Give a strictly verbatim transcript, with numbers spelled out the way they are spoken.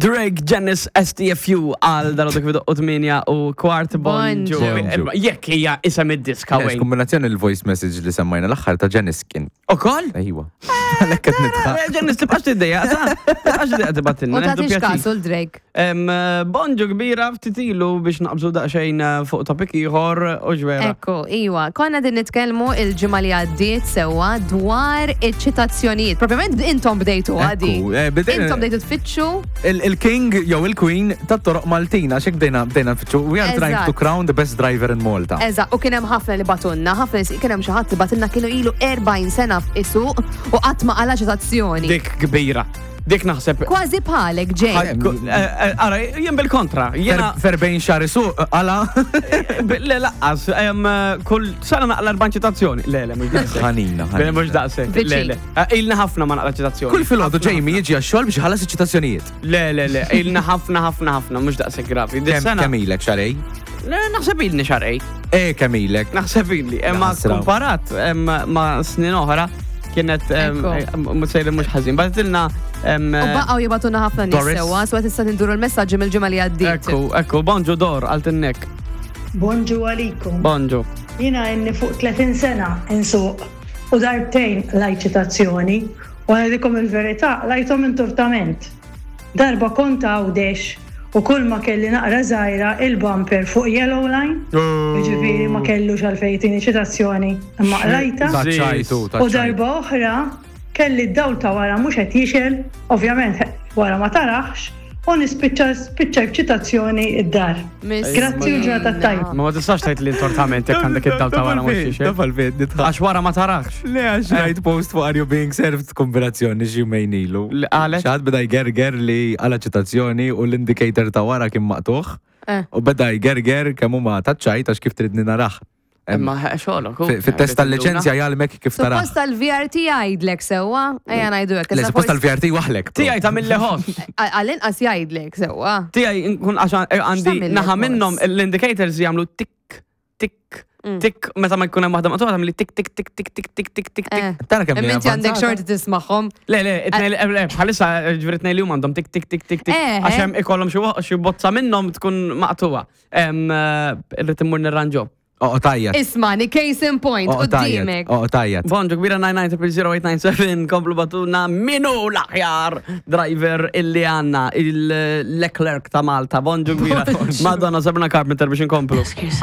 Drake, Janice, S T F U għal dal-għodu kif u tmienja u kwart. Bonġu. Bonġu. Jekk hija isem id-diska Għax wejn. Kombinazzjoni il-voice message li semmajna l-aħħar ta' Janice kien. Ukoll? Ejwa. Għalhekk qed nidħaq. Janice, tibqax tiddejja, sa? Tibqax tiddejja tibgħatilna. U Nieħdu tagħtix pjaċir. kasu l-Drake. Em, Bonġu kbira, ftit ilu biex naqbżu daqsxejn eh, fuq topic ieħor u ġwera. Ekku, iwa, konna din nitkellmu il-ġimgħa li għaddiet sewwa dwar iċ-ċitazzjonijiet. Propjament intom bdejtu għadi. Ekku, eh, bdejna- Intom bdejtu tfittxu. Il- Il-king jew il-queen tat-toroq Maltin, għax hekk bdejna bdejna nfittxu. We are trying to Eżatt. crown the best driver in Malta. Eżatt, u kien hemm ħafna li bagħtulna, ħafna nies, kien hemm xi ħadd li bagħtilna kienu ilu erbgħin sena isuq u qatt ma qala ċitazzjoni. Dik kbira. Dik naħseb. Kważi bħalek, Jay. Eh, eh, Ara, jien bil-kontra. Jiena F'erbgħin xahar isuq, għala. Le, lanqas, em, kull sena naqla erba' ċitazzjoni. Le, le, mhux daqshekk. Ħanina, Le, ħanina. mhux daqshekk. Le, Viċin. le. Eh, Ilna ħafna ma naqla ċitazzjoni. Kull filgħodu Jamie jiġi għax-xogħol biex iħallas iċ-ċitazzjonijiet. Le, le, le, ilna ħafna, ħafna, ħafna, mhux daqshekk gravi. Din Kemm sena. kemm ilek xahrejn? Le, naħseb ilni xahrejn. Eh, kemm ilek? Naħseb illi. Imma Naħsra. komparat em, ma' snin oħra kienet em, Ekku. mhux sejri mhux ħażin. Bagħtilna em, U baqgħu jibagħtulna ħafna nies Doris. sewwa, so tista' tinduru l-messaġġi mill-ġimgħa li għaddiet. Ekku, ekku, bonġu Dor, għaltinnek. Bonġu għalikom. Bonġu. Jiena ili fuq tletin sena insuq u darbtejn qlajt ċitazzjoni u ngħidilkom il-verità, qlajthom intortament. Darba kont Għawdex u kull ma kelli naqra żgħira il-bumper fuq yellow line, jiġifieri ma kellux għalfejn jtini ċitazzjoni, imma qlajtha. Taċċajtu, U taċċajtu. darba oħra kelli d-dawl ta' wara mhux qed jixgħel, ovvjament wara ma tarax, u nispiċċa spiċċa ċitazzjoni id-dar. Grazzi u ġurnata tajba. Ma ma tistax tgħid li intortament jekk għandek id-dawl ta' wara mhux jixgħel. Taf għalfejn nidħaq. Għax wara ma tarax. Le, għax rajt post fuq Are You Being Served kombinazzjoni xi jumejn ilu. Li qalet? Xi ħadd beda jgerger li qala' ċitazzjoni u l-indicator ta' wara kien maqtugħ. Eh. U beda jgerger kemm huma taċċajt għax kif tridni narah. Imma xogħolok. Fi- Fit-test tal-liċenzja jgħallmek kif tarah. Suppost tal-V R T jgħidlek sewwa, ejja ngħidu hekk. Le, issa suppost forsi- tal-V R T waħlek. Tiegħi ta' mill ħoss. Għall-inqas jgħidlek sewwa. Tiegħi nkun għax għandi X'tagħmel naħa il-ħoss? minnhom l-indicators jagħmlu tik tik tik meta ma jkun hemm waħda maqtugħa tagħmel tik tik tik tik tik tik tik tik tik. Eh. Tara kemm Imma hija inti għandek avvanzata. xorti tismagħhom. Le, le, it-tnejn- le, le, bħalissa ġifieri tnejn li huma għandhom tik tik tik tik tik. Eh, Għax eh. hemm ikollhom xi xi bozza minnhom tkun maqtugħa. Em, eh, Irrid immur nirranġo. Oh, tajjeb. Ismani, case in point, Oh, tajjeb. qudiemek. Oh, tajjeb. Bonġu kbira, nine nine zero zero eight nine seven, komplu ibagħtulna min hu l-aħjar driver illi għandna, il-Leclerc ta' Malta. Bonġu kbira. Madonna, Sabrina Carpenter biex inkomplu. Excuse.